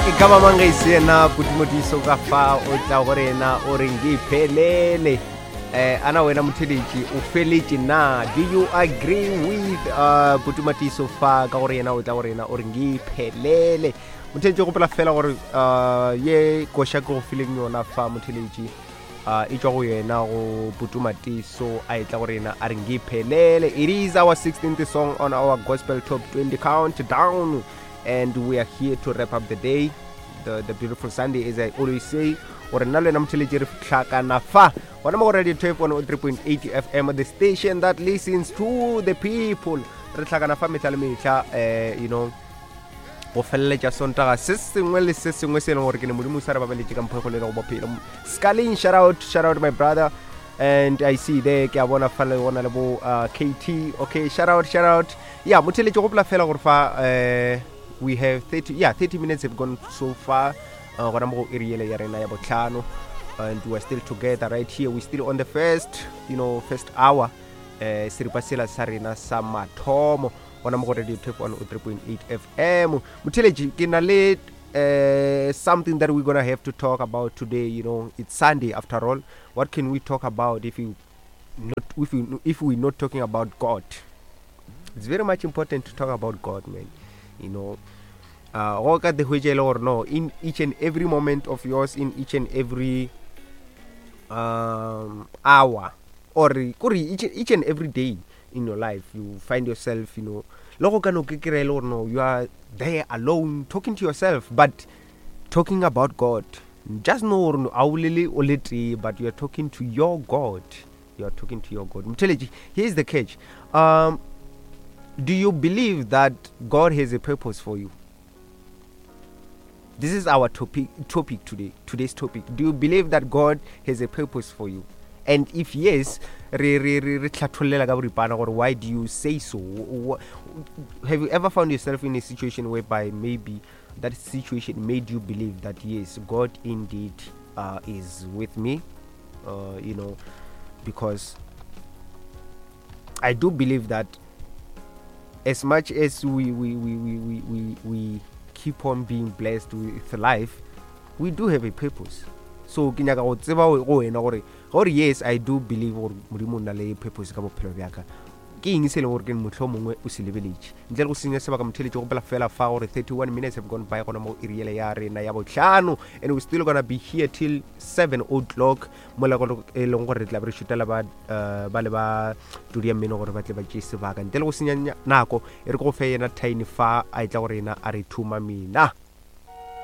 E ka ba mang ge e se yena Putumodiso ka fa o tla go rena o re ngiphelele. Eh, ana wena motheletši o feletše na? Do you agree with Putumatiso fa ka gore yena o tla go rena o re ngiphelele? Motheletši gopola fela gore ye koša ke go fileng yona fa motheletši e tšwa go yena go Putumatiso a etla go rena a re ngiphelele. It is our 16th song on our Gospel Top 20 countdown, and we are here to wrap up the day, the beautiful Sunday, as I always say, gore nna le wena motheletši re hlakana fa gona mo go Radio Tape 103.8 FM, the station that listens to the people. Re hlakana fa mehla le mehla, go feleletša Sontaga se sengwe le se sengwe se e leng gore ke ne Modimo sa re babaletše ka mpho e kgolo e lego bophelo. Scaling, shout out, shout out my brother, and I see there, ke a bona fa le gona le bo KT. Okay, shout out, shout out. Yeah, motheletši gopola fela gore fa we have 30, yeah, 30 minutes have gone so far, gona mo go iri yele ya rena ya botlhano, and we are still together right here. We still on the first, you know, first hour, seripa sela sa rena sa mathomo gona mo go Radio Tape 103.8 FM. Motheletši, ke na le something that we're gonna have to talk about today. It's Sunday after all. What can we talk about if you not, if we, if we're not talking about God? It's very much important to talk about God, man. Go ka te hwetša e le gore no, in each and every moment of yours, in each and every hour, or kore each and every day in your life, you find yourself, le go ka no ke kry-e le gore no, you are there alone talking to yourself, but talking about God. Just know gore no, a o lele o le tee, but you are talking to your God. You are talking to your God. Motheletši, here's the catch. Do you believe that God has a purpose for you? This is our topic today, today's topic. Do you believe that God has a purpose for you? And if yes, re, re, re, re tlhathollela ka boripana gore why do you say so? Have you ever found yourself in a situation whereby maybe that situation made you believe that yes, God indeed is with me? Because I do believe that as much as we keep on being blessed with life, we do have a purpose. So ke nyaka go tseba go wena gore yes, I do believe gore Modimo o na le purpose ka bophelo bja ka. Ke eng se e leng gore ke mohlomongwe mongwe o se lebeletše? Ntle le go senya sebaka, motheletši, gopola fela fa gore 31 minutes have gone by gona mo iri yele ya rena ya bohlano, and we still gonna be here till 7 o'clock, mola go e leng gore re tla be re šutela ba le ba tudi ya mmino gore ba tle ba tšee sebaka. Ntle le go senya nako, e re ke go fe yena Tiny fa a etla gore yena a re thuma mina.